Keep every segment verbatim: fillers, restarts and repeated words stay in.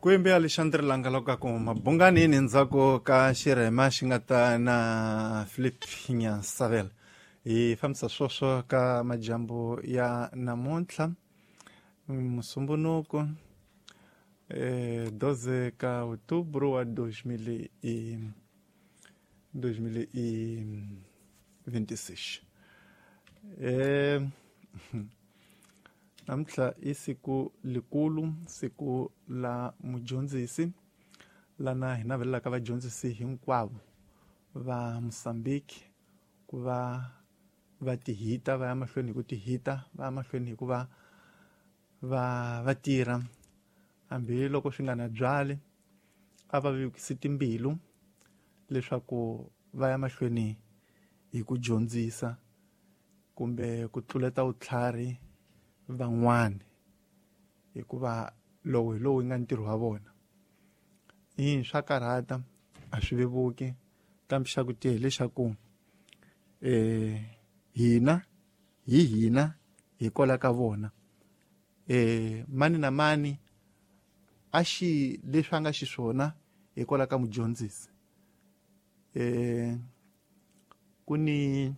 Kwembe Alexandre Langaloka ku mabunganini ndzhaku ka xirhema xi nga ta na Philip Nyasavel. Hi fambisa swoswo ka majambu ya namuntlha musumbunuko eh doze ka outubro wa dois mil e dois mil e vinte e seis. Eh namuntlha i siku likulu, siku la mudyondzisi, lana hi navelelaka vadyondzisi hinkwavo va Mozambique ku va va tihita, va ya mahlweni hi ku tihita, va ya mahlweni hi ku va va va tirha hambiloko swi nga na byali, a va vekisi timbilu leswaku va ya mahlweni hi ku dyondzisa kumbe ku tluleta vutlhari van'wani, hikuva lowu hi lowu nga ntirho wa vona. I swa karhata, a swi vevuki, kambe xa ku tiya hileswaku eh hina hi hina hi kwala ka vona. Eh mani na mani a xi leswi a nga xiswona hi kwala ka mudyondzisi. Eh ku ni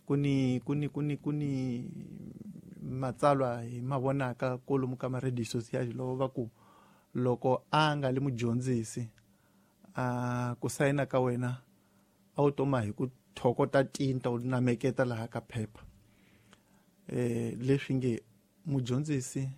ku ni ku ni ku ni ku ni matsalwa hi mavonaka kolomu ka ma-radio society loko va ku loko a nga li mudyondzisi a ku sayina ka wena a wu toma hi ku thokota tinta u nameketa laha ka phepha. Eh leswi nge mudyondzisi